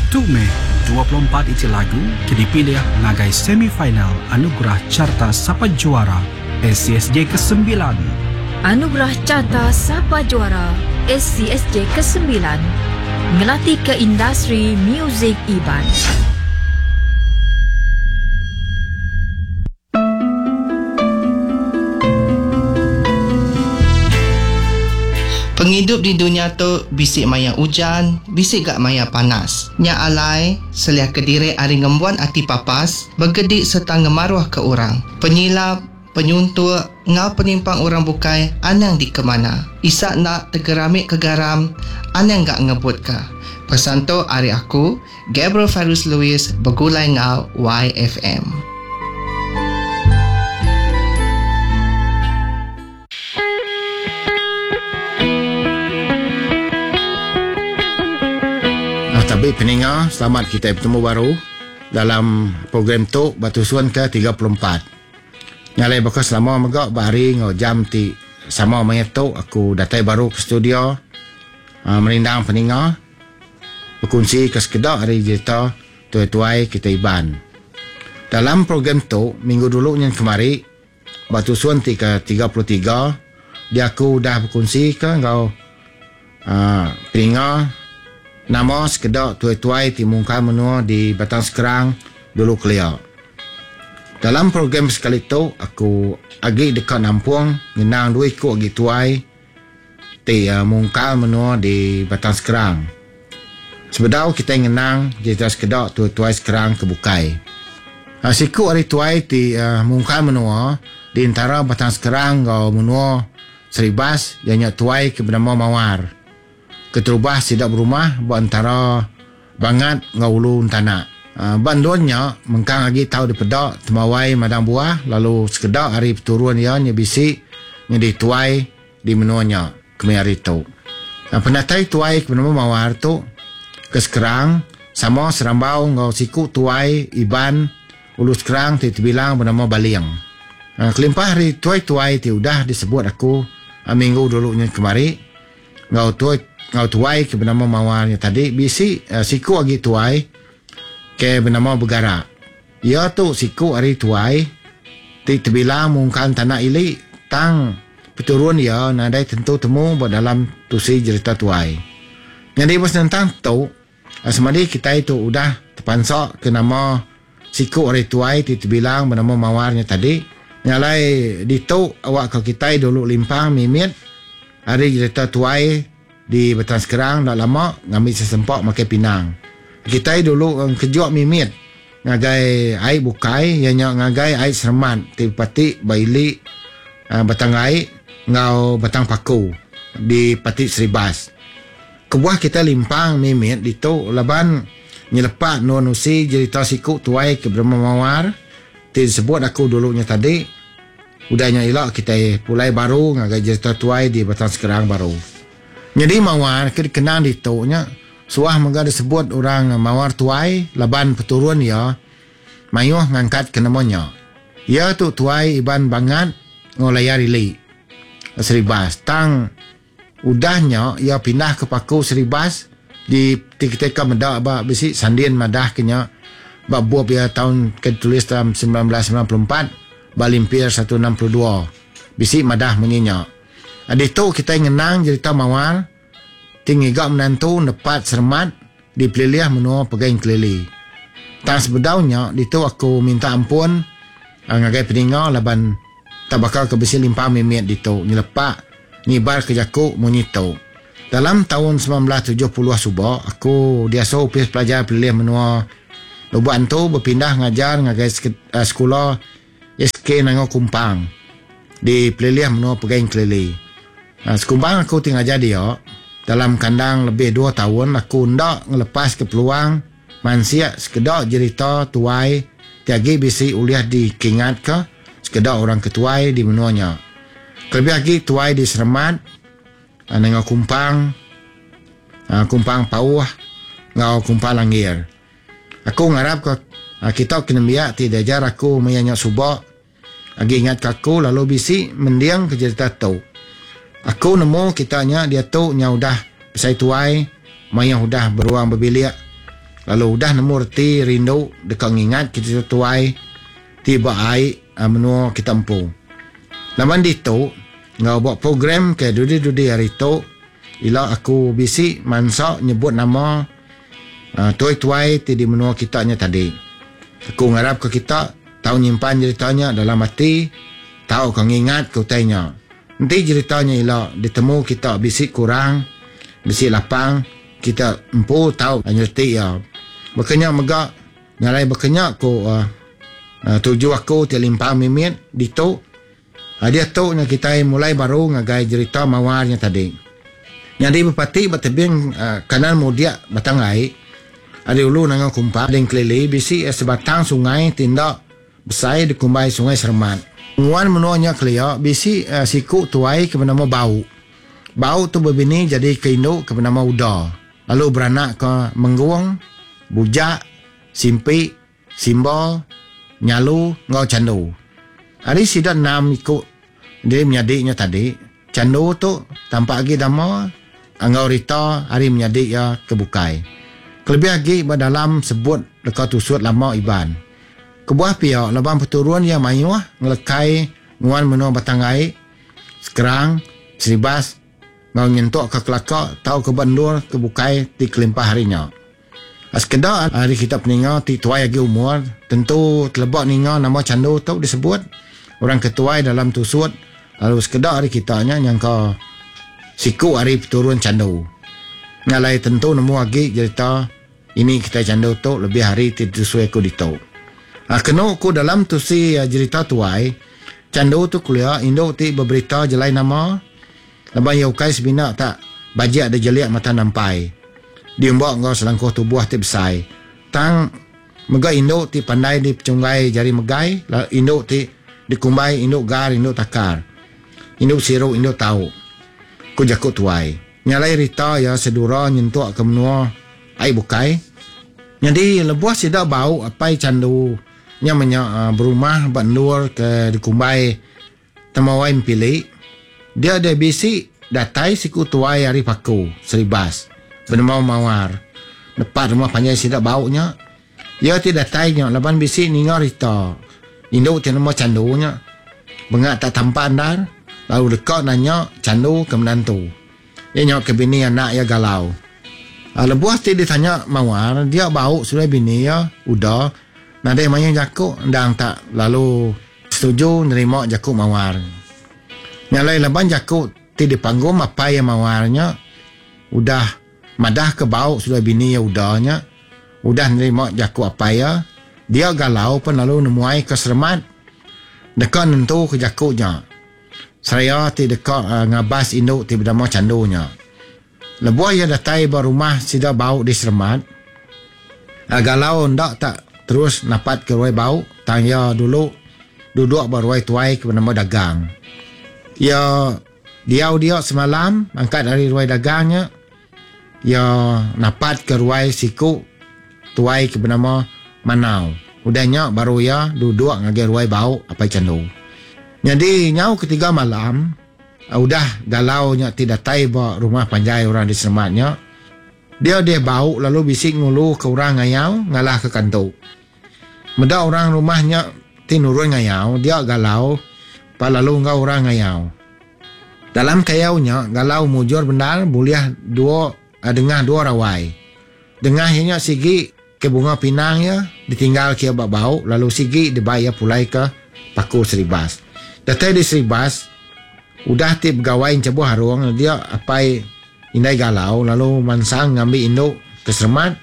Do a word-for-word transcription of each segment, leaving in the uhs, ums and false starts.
Tu meh dua puluh empat iti lagu ke dipilih ngagai semifinal Anugerah Carta Sapa Juara S C S J kesembilan. Anugerah Carta Sapa Juara S C S J kesembilan ngelatih ke industri muzik Iban. Penghidup di dunia tu bisik maya hujan, bisik gak maya panas. Nya alai, seliah kediri ari ngembuan ati papas, bergedik serta ngemaruh ke orang. Penyilap, penyuntuk, ngau penimpang orang bukai, anang di kemana. Isak nak tegeramik ke garam, anang gak ngebut ke. Pesan tu ari aku, Gabriel Fairuz Louis, bergulai ngau Y F M. Tabi peninga, selamat kita bertemu baru dalam program tu Batu Suan ke tiga puluh empat. Nyalai bakal selama megak bahari ngau jam ti sama maya tu aku datai baru ke studio, uh, merindang peninga berkongsi ke sekedak hari cerita tuai-tuai kita Iban. Dalam program tu minggu dulu nyen kemari Batu Suan ti ke tiga puluh tiga dia aku dah berkongsi ke ngau, uh, peninga nama sekedak tuai-tuai ti mungkal menua di Batang Skrang dulu kelia. Dalam program sekali tu aku agi dekat nampung ngenang dua ikut agi tuai ti, uh, mungkal menua di Batang Skrang. Sebedau kita ngenang cerita sekedak tuai-tuai Skrang ke bukai. Uh, siku ari tuai ti, uh, mungkal menua di antara Batang Skrang ngau menua Seribas ianya tuai ke bernama Mawar. Keterubah sidak berumah buat antara Bangat ngau Ulu Entanak. Uh, bandunnya mengkang lagi tahu dipedak temawai madang buah lalu sekedak hari peturun ia nya bisi nya dituai di menuanya kemi hari tu. Uh, penatai tuai ke bernama Mawar tu ke Skrang sama serambau ngau siku tuai Iban Ulu Skrang ti terbilang bernama Baling. Uh, kelimpah hari tuai-tuai ti udah disebut aku, uh, minggu dulu nya kemari ngau tuai ngau tuai ke bernama Mawar nya tadi bisi, uh, siku agi tuai ke bernama Begarak. Ia tu siku ari tuai ti terbilang mungkan tanah ili tang peturun ia nadai tentu temu buat dalam tusi cerita tuai. Jadi bos tentang tu semadi kita itu udah terpansak ke nama siku ari tuai ti terbilang bernama Mawar nya tadi. Nyalai ditu awak ke kita dulu limpang mimit ari cerita tuai di Batang Skrang dak lama ngambil sesempak makai pinang. Kita dulu kejuk mimit ngagai ai bukai ianya ngagai ai Seremat ti pati baili, uh, Batang Ai ngau Batang Paku di Pati Seribas. Kebuah kita limpang mimit ditu laban nyelepak non usi cerita siku tuai ke bernama Mawar ti disebut aku dulunya tadi. Udahnya elok kita pulai baru ngagai cerita tuai di Batang Skrang baru. Jadi Mawar ke dikenang ditu nya suah mega disebut orang Mawar tuai laban peturun ia mayuh ngangkat ke namanya. Ia tu tuai Iban Bangat ngau layar ili Seribas. Tang udahnya ia pindah ke Paku Seribas di ketika medak ba bisi sandin madah kenya ba bup ia tahun ke tulis dalam sembilan belas sembilan puluh empat ba limpir seratus enam puluh dua bisi madah munyinya. Ditu kita ngenang cerita Mawar tinggi gak menantu nepat Seremat di peliliah menua Pegaing Kelili. Tang sebedaunya ditu aku minta ampun, uh, ngagai peninga laban tak bakal ke besi limpah mimit ditu nyelepak nyibar ke jaku munyi tu. Dalam tahun sembilan belas tujuh puluh suba aku diasuh upis pelajar pelilih menua Lubuk Antu berpindah ngajar ngagai sek-, uh, sekolah S K Nangor Kumpang di pelilih menua Pegaing Kelili. Uh, sekumbang aku tinggal ngajar dia dalam kandang lebih dua tahun aku ndak ngelepas ke peluang mansia sekedak cerita tuai tiagi bisi uliah dikingat ke sekedak orang ketuai di menuanya. Kelebih lagi tuai di Seremat, Nengah Kumpang, Kumpang Pauh, ngau Kumpang Langgir. Aku ngarap ke kita kena biak ti diajar aku mayanya subak agi ingat ke aku lalu bisi mendiang ke cerita tu. Aku nemu kitanya dia tu nya udah besai tuai, maya udah beruang berbilik. Lalu udah nemu reti rindu deka ngingat kita tuai ti ba ai menua kita empu. Laban ditu ngau buat program ke dudi-dudi hari tu ila aku bisi mansa nyebut nama uh, tuai-tuai ti di menua kita nya tadi. Aku ngarap ke kita tau nyimpan ceritanya dalam hati, tau ke ngingat ke utainya. Nanti ceritanya ila ditemu kita bisi kurang, bisi lapang, kita empu tau nyerti ya. Bekenya mega nyalai bekenya ku uh, uh, tuju aku ti limpang mimit ditu. Uh, dia tu nya kita mulai baru ngagai cerita mawarnya tadi. Jadi bupati batebing uh, kanan mudia batang ai ada ulu nangau kumpa ding kelili bisi uh, sebatang sungai tindak besai di kumbai Sungai Seremat. Nguan menuanya kelia bisi uh, siku tuai ke bernama Bau. Bau tu berbini jadi ke induk ke bernama Uda. Lalu beranak ke Menggung, Bujak, Simpi, Simba, Nyalu, ngau Candu. Hari sida enam ikut dia menyadiknya tadi. Candu tu tampak lagi dama ngau Rita hari menyadik ya ke bukai. Kelebih lagi dalam sebut dekat tusut lama Iban. Kebuah pihak lebam peturun yang mayuh ngelekai nguan menua Batangai, Sekerang, Seribas, ngau nyentuk ke Kelaka tau ke Bandur ke bukai ti kelimpah harinya. Sekedar hari kita peninga ti tuai lagi umur, tentu telebak ninga nama Candu tu disebut orang ketuai dalam tusut, lalu sekedar hari kita nya nyangka siku hari peturun Candu. Ngalai tentu nemu lagi cerita ini kita Candu tu lebih hari ti tusui aku ditu. Ah, kena aku dalam tusi uh, cerita tuai Candu tu kuliah induk ti berberita jelai nama leban ya ukai sebina tak bajak ada jeliak mata nampai. Diumbak ngau selangkuh tubuh ti besai. Tang mega induk ti pandai di pecunggai jari megai, induk ti dikumbai induk gar induk takar. Induk siru induk tau. Ku jakuk tuai. Nyalai Rita ya sedura nyentuk ke menua ai bukai. Jadi lebuh sida bau apai Candu nya menya uh, berumah bandur ke dikumbai temawai empili. Dia ada bisi datai siku tuai hari Paku Seribas bernama Mawar. Depan rumah panjai sida baunya. Ia ti datai nya laban bisi ninga Rita. Induk ti nama Candu nya bengak tak tampan dar lalu dekat nanya Candu ke menantu. Dia nya ke bini anak ia galau. Lebuh ti ditanya Mawar, dia bau sudah bini ia udah nadai maya jakuk ndang tak lalu setuju nerima jakuk Mawar. Nyalai laban jakuk ti dipanggum apa yang Mawarnya udah madah ke bau sudah bini ia udahnya udah nerima jakuk apa ya dia galau pun lalu nemuai ke Seremat dekat nentu ke jakuknya. Seraya ti dekat uh, ngabas induk ti bernama Candunya. Lebuh ia datai ba rumah sida bau di Seremat. Uh, galau ndak tak terus napat ke ruai bau, tang ia dulu duduk ba ruai tuai ke bernama Dagang. Ia diau dia semalam angkat dari ruai dagangnya. Ia napat ke ruai siku tuai ke bernama Manau. Udahnya baru ia duduk ngagai ruai bau apai Candu. Jadi nyau ketiga malam udah galau nya ti datai ba rumah panjai orang di Serematnya. Dia dia bau lalu bisik ngulu ke orang ngayau ngalah ke kantu. Meda orang rumahnya ti nurun ngayau, dia galau pa lalu ngau orang ngayau. Dalam kayaunya galau mujur bendar boleh dua dengah dua rawai. Dengah nya sigi ke bunga pinang ya ditinggal ke bak bau lalu sigi dibayar pulai ke Paku Seribas. Datai di Seribas udah ti pegawai cebuh harung dia apai indai galau lalu mansang ngambil induk ke Seremat.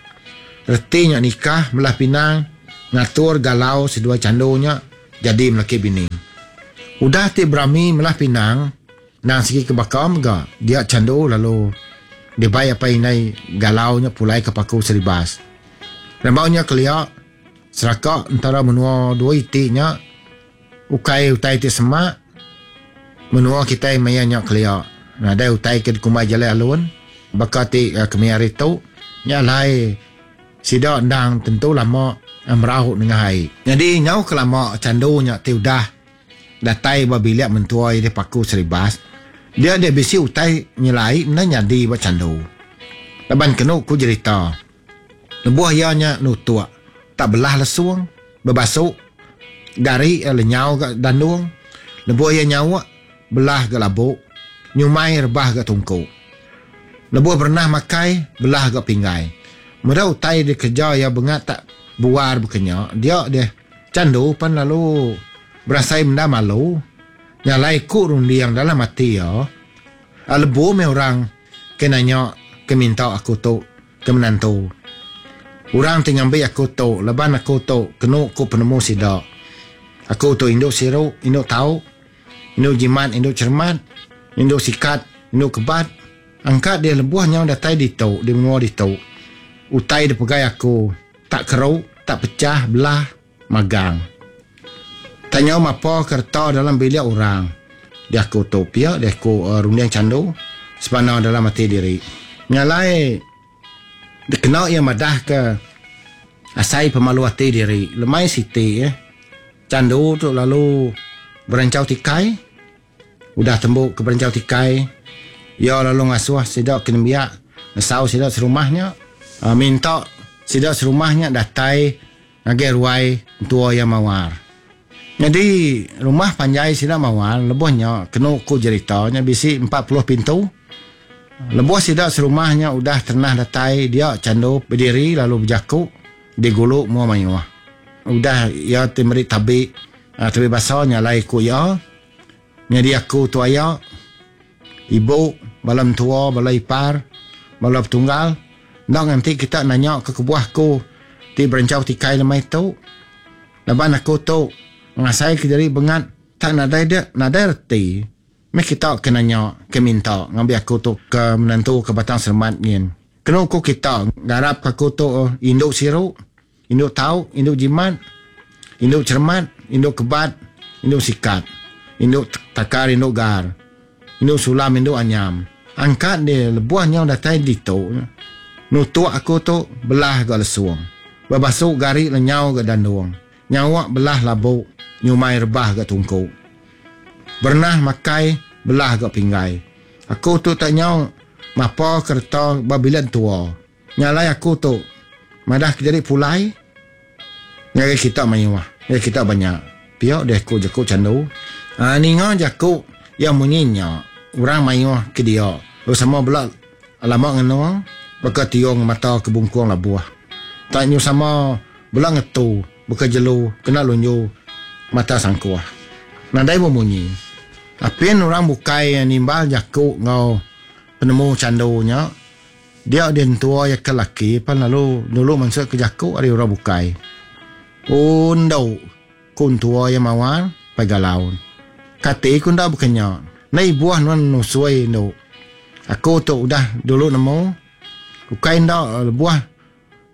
Retinya nikah melah pinang ngatur galau sedua candunya jadi melaki bini. Udah ti berami melah pinang nang segi ke bakar mega dia candu lalu dibayar apai indai galaunya pulai ke Paku Seribas. Rambaunya kelia seraka antara menua dua itiknya ukai utai ti semak menua kita maya nya kelia. Nadai utai ke dikumbai jalai alun baka ti uh, kemi hari tu nya lai sida endang tentu lama merauh dengan ai. Jadi nyau kelama candu nya ti udah datai ba bilik mentua di Paku Seribas, dia dia bisi utai nyelai mena nyadi ba candu. Laban kenu ku cerita. Lebuh iya nya nutuk, tak belah lesung, bebasuk, gari lenyau ga dandung. Lebuh iya nyauk, belah ga labuk, nyumai rebah ga tungku. Lebuh berenah makai, belah ga pinggai. Meda utai dikereja iya bengat tak buar bekenya, dia deh Chandu pan lalu berasai menda malu, nyalai ku runding dalam ati iya. Lebu meh orang ke nanya ke minta aku tu ke menantu. Orang ti ngambi aku tu laban aku tu kenu ku penemu sida. Aku tu indu siru, indu tau, indu jimat, indu cheremat, indu sikat, indu kebat. Angkat dia lebuh nyau datai ditu, di menua ditu. Utai dipegai aku tak keru, tak pecah belah magang. Tak nyau mapa kereta dalam bilik orang. Dia aku tu pia, dia aku uh, runding Chandu sebana dalam hati diri. Nyalai dikena ia madah ke asai pemalu hati diri. Lemai siti eh. Chandu tu lalu berencau tikai. Udah tembuk ke berencau tikai, ia lalu ngasuh sida ke nembiak, nesau sida serumahnya, uh, minta sida serumahnya datai ngagai ruai entua ia mawar. Jadi rumah panjai sida mawar lebuhnya kenu ku jeritanya bisi empat puluh pintu. Lebuh sida serumahnya udah ternah datai, dia Chandu berdiri lalu berjaku di gulu mua mayuh. Udah ia ti meri tabi, tabi basa nyalai ku ia. Jadi aku tu aya, ibu, bala mentua, bala ipar, bala petunggal, ndak nganti kita nanya ke kebuah ku ti berencau tikai lemai tu. Laban aku tu ngasai ke diri bengat tak nadai dia, nadai reti. Meh kita ke nanya, ke minta ngambi aku tu ke menantu ke Batang Sermat ngin. Kenu ku kita ngarap ke aku tu indu siru, indu tau, indu jimat, indu cermat, indu kebat, indu sikat, indu takar, indu gar, indu sulam, indu anyam. Angkat dia lebuh nyau datai ditu. Nutuk aku tu belah ga lesung. Bebasuk gari lenyau ga dandung. Nyawak belah labuk, nyumai rebah ga tungku. Bernah makai belah ga pinggai. Aku tu tak nyau mapa kereta babilan tua. Nyalai aku tu madah ke jadi pulai ngagai kita mayuh, ngagai kita banyak. Pia deh ku jaku Chandu. Ha, ninga jaku yang munyinya orang mayuh ke dia. Lalu sama bela lama ngeno baka tiong mata ke bungkung labuh. Tak nyu sama bela ngetu baka jelu kena lunju mata sangkuh. Nadai memunyi. Apin orang bukai yang nimbal jaku ngau penemu Chandunya, dia dientua ya ke laki pan lalu dulu masuk ke jaku ari orang bukai. Undo kun tua ya mawar pagalaun. Kati kun dah bukenya. Nei buah nuan nusui nu. Aku tu udah dulu nemu. Ukai ndak buah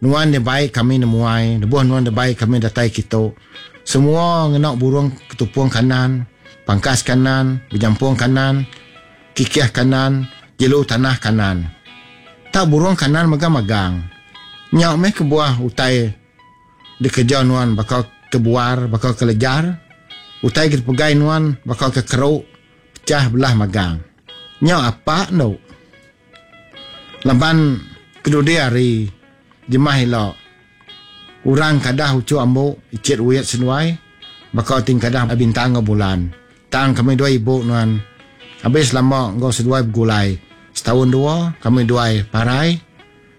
nuan dia baik kami nemuai, buah nuan dia baik kami datai kitu. Semua ngena burung ketupung kanan, pangkas kanan, berjampung kanan, kikih kanan, jelu tanah kanan. Tak burung kanan megang-megang. Nyak meh ke buah utai dikejar nuan bakal kebuar, bakal kelejar. Utai kita pegai nuan bakal ke keruk, pecah belah magang. Nyak apa nu? Laban kedudi hari jemah elok. Orang kadah ucu ambuk, icit uyat senuai, bakal ting kadah bintang ngau bulan. Tang kami dua ibu nuan. Habis lama ngau seduai bergulai. Setahun dua, kami dua parai.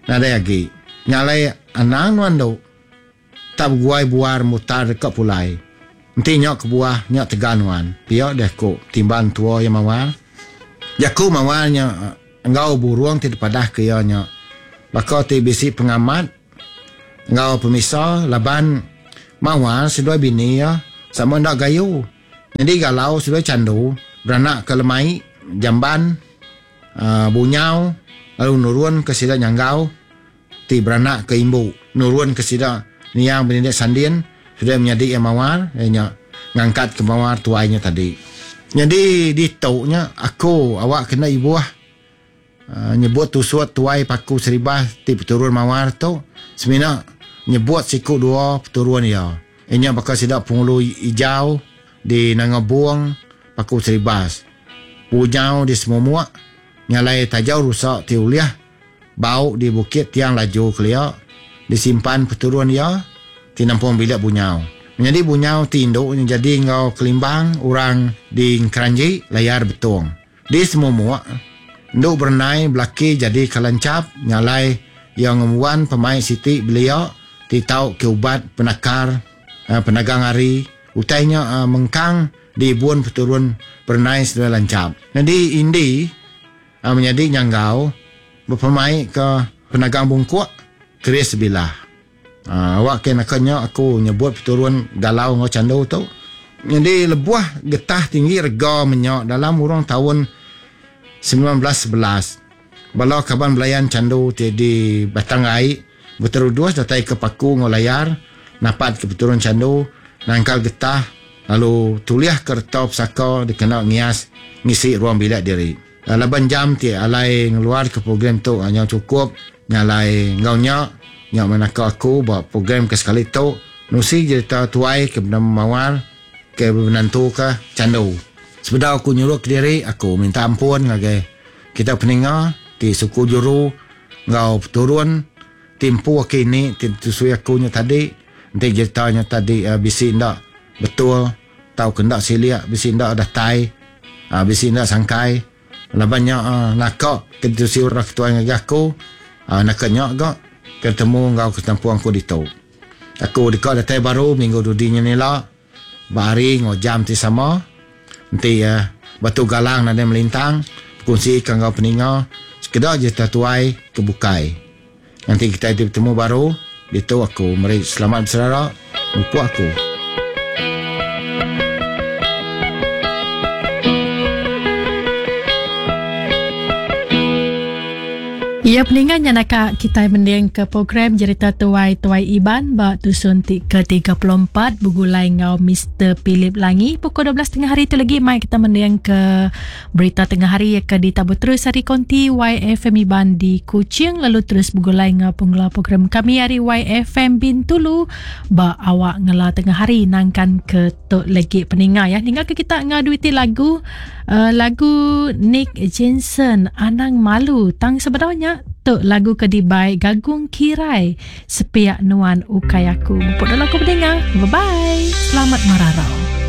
Nadai lagi. Nyalai anang nuan tu. Tak berguai buar mutar dekat pulai. Nanti nyok ke buah, nyok tegan nuan. Pia deh ku timban tua yang mawar. Jaku mawarnya engau burung ti padah ke ia nyok. Bakal ti bisi pengamat engau pemisa laban mawar seduai bini ya sama ndak gayu. Jadi galau seduai Chandu beranak ke lemai jamban uh, bunyau lalu nurun ke sida nyanggau ti beranak ke imbu nurun ke sida niang berindik sandin sudah menjadi yang mawar nya ngangkat ke mawar tuainya tadi. Jadi ditoknya aku awak kena ibuah uh, nyebut tusut tuai paku seribah ti peturun mawar tu semina nyebut siku dua peturun ia. Inya bakal sida pengulu hijau di Nangabung paku seribas. Pujau di Semumuak nyalai tajau rusak ti uliah bau di bukit tiang laju kelia disimpan peturun ia ti nampung bilik bunyau. Menjadi bunyau ti induk jadi ngau kelimbang orang di Keranji layar betung. Di semumuk induk berenai belaki jadi kalancap nyalai yang ngemuan pemain siti belia ti tau ke ubat penakar penagang hari utainya mengkang di bun peturun berenai sedaya lancap. Jadi indi menjadi nyanggau berpemain ke penagang bungkuk keris sebilah. Uh, awak ke nakanya aku nyebut peturun galau ngau candu tu. Jadi lebuah getah tinggi rega minyak dalam urang tahun sembilan belas sebelas. Bala kaban belayan candu ti di Batang Ai berterudus datai ke Paku ngau layar napat ke peturun candu nangkal getah lalu tuliah ke reta pesaka dikena ngias ngisi ruang bilik diri. Laban jam ti alai ngeluar ke program tu hanya cukup nyalai ngau nya nyak menaka aku buat program ke sekali tu nusi cerita tuai ke bernama Mawar ke menantu ke candu. Sebedau aku nyuruh ke diri aku minta ampun ngagai kita peninga ti suku juru ngau peturun timpu aku ini ti tusui aku nya tadi enti ceritanya tadi uh, bisi ndak betul tau ke ndak siliak bisi ndak datai uh, bisi ndak sangkai. Laban nya uh, nakak ke tusui orang ketua ngagai aku uh, nakak nya gak ketemu ngau ketempuan aku ditu. Aku dekat datai baru minggu dudinya nila bahari ngau jam ti sama. Nanti uh, batu galang nadai melintang berkongsi ke ngau peninga sekedar je tatuai ke bukai. Nanti kita bertemu baru ditu aku meri selamat bersara mupu aku. Ya peningan yang nak kita mending ke program Cerita Tuai Tuai Iban ba tusun ke tiga puluh empat bergulai ngau Mister Philip Langi pukul dua belas tengah hari tu lagi mai kita mending ke berita tengah hari ke ditabur terus hari konti Y F M Iban di Kuching lalu terus bergulai ngau pengelola program kami hari Y F M Bintulu ba awak ngela tengah hari nangkan ke tok lagi peningan ya tinggal ke kita ngau duiti lagu uh, lagu Nick Jensen Anang Malu tang sebenarnya tok lagu kedibai Gagung Kirai Sepiak Nuan Ukai Aku. Mupuk dalam aku pendengar. Bye bye. Selamat mararau.